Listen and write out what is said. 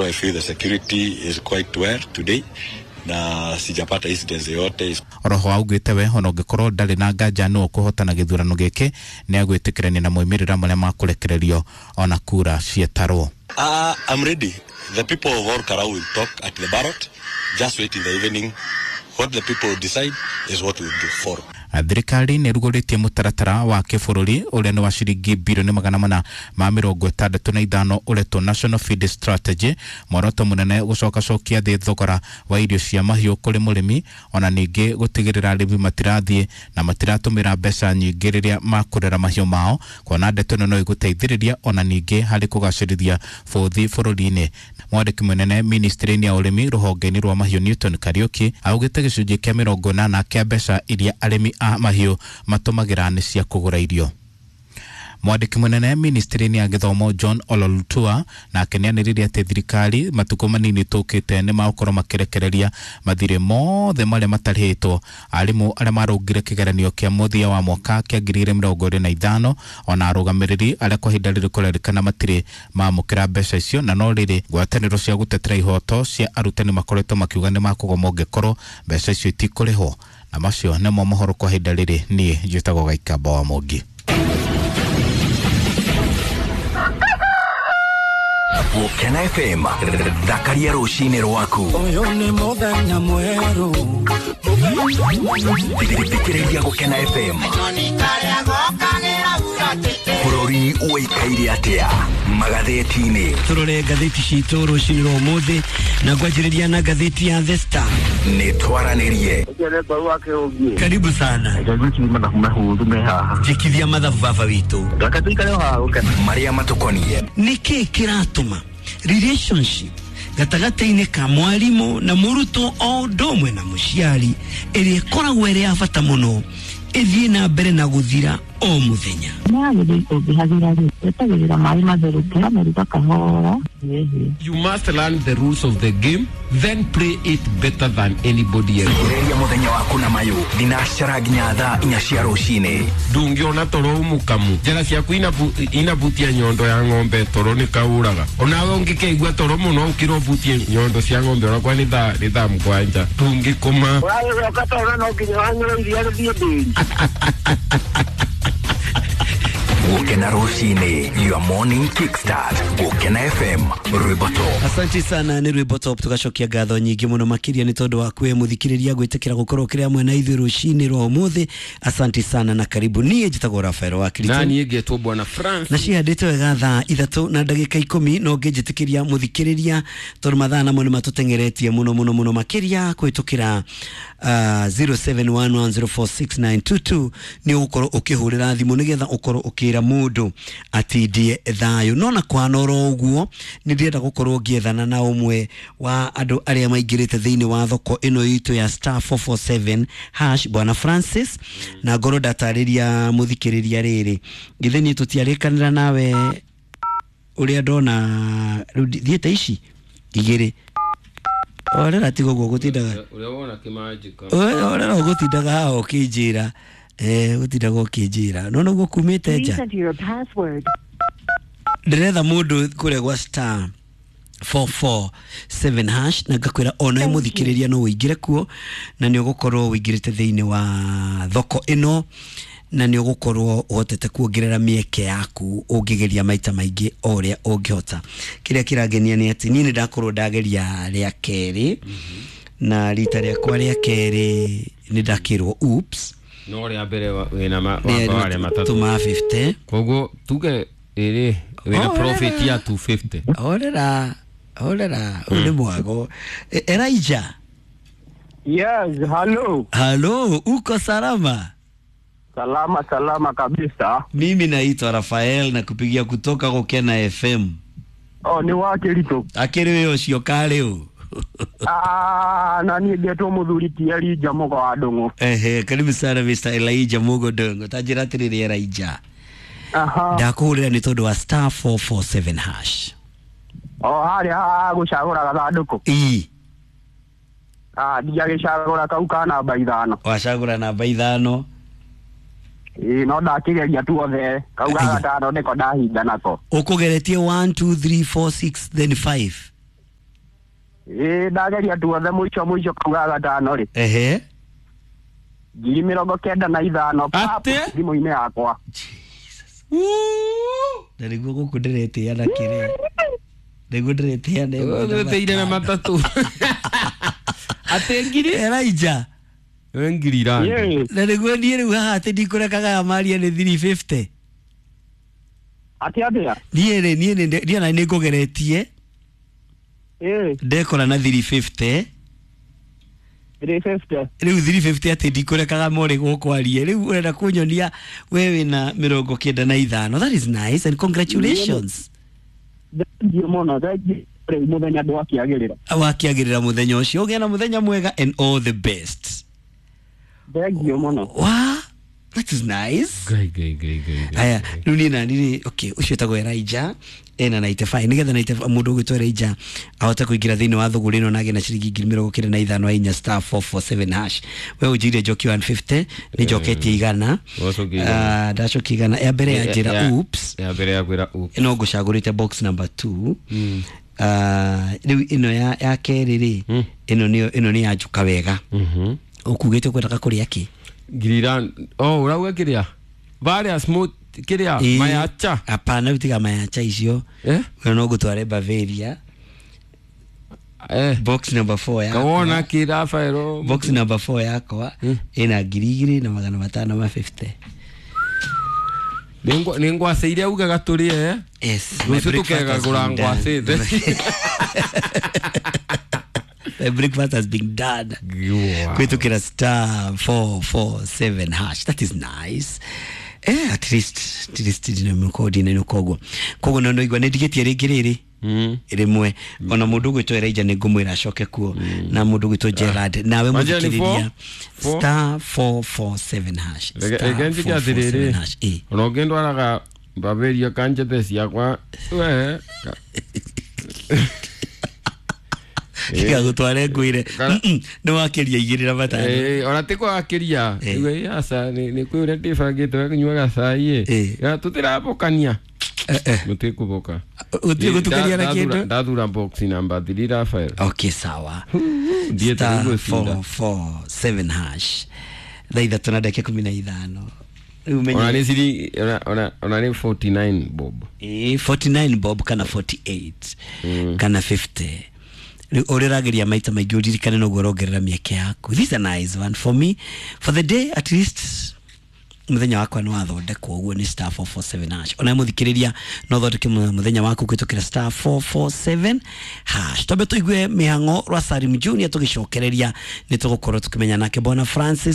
I feel the security is quite well today na sijapata incidents yoyote. Oroho augĩte we ona ũngĩkorwo ndarĩ na nganja nũ ũkũhotana gĩthurano gĩkĩ nĩ agwĩtĩkĩrania na moimĩrĩra marĩa makũrekererio ona kura cietarwo. I'm ready. The people of Ol Kalou will talk at the ballot. Just wait in the evening. What the people decide is what we do follow. Thirikari nä ĩrugũrĩtie mũtaratara wa kĩbũrũri ũrĩa nĩ wa ciringi birioni 465 ũretwo National Feed Strategy, mworoto mũnene gũcokacokia thĩ thogora wa irio cia mahiũ kũrĩ mũrĩmi, ona ningĩ gũtigĩrĩra arĩmi matirathiĩ na matiratũmĩra mbeca nyingĩ rĩrĩa makũrera mahiũ mao, kuona ndeto ĩno no ĩgũteithĩrĩria ona ningĩ harĩ kũgacĩrithia bũthi bũrũri-inĩ. Mwandĩki mũnene ministry-inĩ ya ũrĩmi rũhonge-inĩ rwa mahiũ Newton Kariuki augĩte gĩcunjĩ kĩa 80 kĩa mbeca iria arĩmi a mahiũ matũmagĩra nĩ cia kũgũra irio. Mwandĩki mũnene ministry-inĩ ya gĩthomo John Ololutua nake nĩanĩrĩire atĩ thirikari matukũ manini tũkĩte nĩ magũkorwo makĩrekereria mathirĩ mothe marĩa matarĩhĩtwo arimũ arĩa marũngire kĩgeranio kĩa mũthia wa mwaka kĩa 2025 ona arũgamĩrĩri arĩa kwa ihinda rĩrĩ kũrerĩkana matirĩ mamũkĩra mbeca icio, na no rĩrĩ ngwatanĩro cia gũtetera ihoto cia arutani makoretwo makiuga nĩ makũgoma ũngĩkorwo mbeca icio itikũrĩhwo. Na macio nĩmo mohoro kwa ihinda rĩrĩ, niĩ njĩtagwo Gaikamba wa Mũngi. Gũkena FM, thakaria rũcinĩ rwaku. Ũyũ nĩ mũthenya mwerũ. Thikĩrĩria Gũkena FM. Bũrũri ũikaire atĩa magathĩti-inĩ? Tũrore ngathĩti citũ rũcinĩ rwa ũmũthĩ na ngwanjĩrĩria na ngathĩti ya The Star. Nĩ twaranĩrie. Karibu sana. Njĩkithia mathabu baba witũ. Marĩa matũkoniĩ. Nĩkĩ kĩratũma relationship gatagatĩ-inĩ ka mwarimũ na mũrutwo o ũndũ ũmwe na mũciari ĩrĩa ĩkoragwo ĩrĩ ya bata mũno ĩthiĩ na mbere na gũthira o mũthenya? You must learn the rules of the game, then play it better than anybody else. Thikĩrĩria mũthenya waku na mayũ thinacara nginya thaa 4 cia rũcinĩ. Ndũngĩona toro mũkamu njĩra ciaku inabutia nyondo ya ng'ombe toro nĩ kaũraga onawe ũngĩkeigua toro mũno ũkĩra ũbutie nyondo cia ng'ombe onakwa nĩ thaa 7 ndũngĩkoma. Ũragĩcoka toro no nginya wanyue iria rĩthiĩ ndĩri. Gũkena rũcinĩ, your morning kickstart. Gũkena FM, rwĩmbo top. Asante sana, nĩ rwĩmbo top. Tũgacokia ngatho nyingĩ mũno makĩria nĩ tondũ wa kwĩ mũthikĩrĩria gwĩtĩkĩra gũkorwo kĩrĩ hamwe na ithuĩ rũcinĩ rwa ũmũthĩ. Asante sana na karibu. Niĩ njĩtagwo Rafael wa Kirito. Na niĩ ngetwo Bwana France. Na cihandĩte wega thaa 3:10 no ngĩnjĩtĩkĩria mũthikĩrĩria tondũ mathaa namo nĩ matũteng'eretie mũno mũno mũno makĩria kũhĩtũkĩra 0711046922 nĩ ũgũkorwo ũkĩhũrĩra thimũ nĩgetha ũkorwo ũkĩra mũndũ atindie thayũ. No na kwana oro ũguo nĩ ndĩrenda gũkorwo ngĩethana na ũmwe wa andũ arĩa maingĩrĩte thĩinĩ wa thoko ĩno itũ ya star 447 hash Bwana Francis, na ngorwo ndatarĩria mũthikĩrĩria rĩrĩ githĩ niĩ tũtiarĩkanĩra nawe ũrĩa ndona rĩu thiĩte ici igĩrĩ orera tiga ũguo gũtindaga ũrĩa wona kĩmanjĩka orera ũgũtindaga haha ũkĩnjĩra gũtindaga ũkĩnjĩra no noguo kumĩte nja. Ndĩretha mũndũ kũrĩa gwa star 447 hash na ngakwĩra ona mũthikĩrĩria no ũingĩre kuo na nĩ ũgũkorwo ũingĩrĩte thĩinĩ wa thoko ĩno na nĩ ũgũkorwo ũhotete kuongerera mĩeke yaku ũngĩgeria maita maingĩ o ũrĩa ũngĩhota. Kĩrĩa kĩrangenia nĩ atĩ niĩ nĩ ndakorwo ndageria rĩa kerĩ na rita rĩakwa rĩa kerĩ nĩ ndakĩrwo oops no rĩa mbere wĩna wamba warĩa matatũ tuma 50 koguo tuge ĩrĩ wĩna profit ya 250. Horera horera ũyũ nĩ mwago. Elijah. Yes, hello. Hello, uko salama? Salama salama kabisa. Mimi naitwa Rafael na kupigia kutoka Gũkena FM. Oh, ni wa Kirito. Akĩrĩ wĩ ũcio karĩ ũ? Ah, na niĩ ngetwo mũthuri ti Elijah Mũgo wa Ndũng'ũ. Ehe, karibu sana Mr. Elijah Mũgo Ndũng'ũ. Ta njĩra atĩrĩrĩ Elijah. Aha. Ndakũhũrĩra nĩ tondũ wa star 447 hash. O harĩa gũcagũra gathandũkũ. Ii. Ah, ndiagĩcagũra kau ka namba 5. Wacagũra namba 5. Ĩĩ, no ndakĩgeria tuothe kau ga gatano nĩko ndahinga nako. Ũkũgeretie 1 2 3 4 6 then 5. Ĩĩ ndageria tuothe mũico mũico kau ga gatano rĩ. Ehe. 95,000 pap Atĩ? thimũ-inĩ yakwa. Na nĩguo gũkũ ndĩretĩa na kĩrĩa. Nĩguo ndĩretĩa na ĩmwe na Wĩteire na matano. matatũ. Atĩ ngiri? Elijah. Nĩ ngiri irani. Ĩĩ. Na nĩguo niĩ rĩu haha atĩ ndikũrekaga maria nĩ 350. Atĩ atĩa? Niĩ rĩ niĩ nĩ niĩ ona nĩ ngũgeretie Ĩĩ. ndekora na 350. 350. Rĩu 350 atĩ ndikũrekaga morĩ gũkwarie. Rĩu ũrenda kũnyonia we wĩna 95. That is nice and congratulations. Thengiũ mũno, thengiũ rĩu mũthenya ndwakĩagĩrĩra. Wakĩagĩrĩra mũthenya ũcio ũgĩe na mũthenya mwega and all the best. Thengiũ mũno. Wow, that is nice. Ngai ngai ngai ngai. Ngai. Aya, rĩu niĩ nani rĩ, okay, ũcio wĩtagwo Elijah ena 95 nĩgetha 95 mũndũ ũgwĩtwo Elijah ahote kũingĩra thĩinĩ wa thũgũrĩ ĩno na agĩe na ciringi 95,000 ainya star 447 hash. We ũnjĩire njoki 150 nĩ njoketie igana. Wacokia igana. Ah, ndacokia igana ya mbere ya njĩra oops Ya mbere ya kwĩra oops. no ngũcagũrĩte box number 2. Rĩu ĩno ya kerĩ rĩ, ĩno nĩyo ĩno nĩ ya njuka wega. Ũkugĩte ũkwendaga kũrĩa kĩ? Ngiri irani. Oh, ũrauga kĩrĩa? Varia smooth kĩrĩa? Ĩĩ. Mayacha. Hapana, rĩu tiga mayacha icio. Eh? We no ngũtware Bavaria. Eh. Box number 4 yakwa. Kawona kĩ Rafaelo. Box number 4 yakwa ĩna 2,550. Nĩ ngwacĩ iria ugaga tũrĩe. Yes. My Rũciũ breakfast has tũkegagũra been done. ngwacĩ. My breakfast has been done. Wow. Kwitukira star 447 hash. That is nice. At least ndina mkodi na koguo. Koguo no igua nĩ ndigĩtie rĩngĩ rĩrĩ. Rĩmwe ona mũndũ ũgwĩtwo Elijah nĩ ngũmwĩra acoke kuo na mũndũ ũgwĩtwo Gerard nawe Wanjĩra nĩ mũthikĩrĩria four? star 447 hash. Reke Star reke njĩke 447 atĩrĩrĩ. hash. Ĩ. Ona ũngĩndwaraga Bavaria kanjete ciakwa we Tiga gũtware ngwĩre Kana- nĩ wakĩria igĩrĩ na matano. Ona ti kwakĩria Eh. Igwe, aca nĩ kwĩ ũrĩa ndĩbangĩte we kũnyuaga cai Eh. ĩ tũtirabũkania Eh, eh. mũtikũbũka Gũtirĩ gũtukania na kĩndũ. Ndathura box number 3 Rafael. Okay, sawa. Ndiĩte Star gũcinda. 447 hash. Thaa ithatũ na ndagĩka 15. Rĩu menye- Ona nĩ ciri ona nĩ 49 bob. Ĩĩ, 49 bob kana 48 kana 50. Rĩu ũrĩa ũrageria maita maingĩ ũririkane noguo ũrongerera mĩeke yaku. This is a nice one for me for the day at least. Mũthenya wakwa nĩ wathondekwo ũguo nĩ star 447 hash. Ona mũthikĩrĩria no ũthondeke mũthenya waku kũhĩtũkĩra star 447 hash. Twambe tũigue mĩhang'o rwa Salim Junior tũgĩcokereria nĩ tũgũkorwo tũkĩmenya nake Bwana Francis.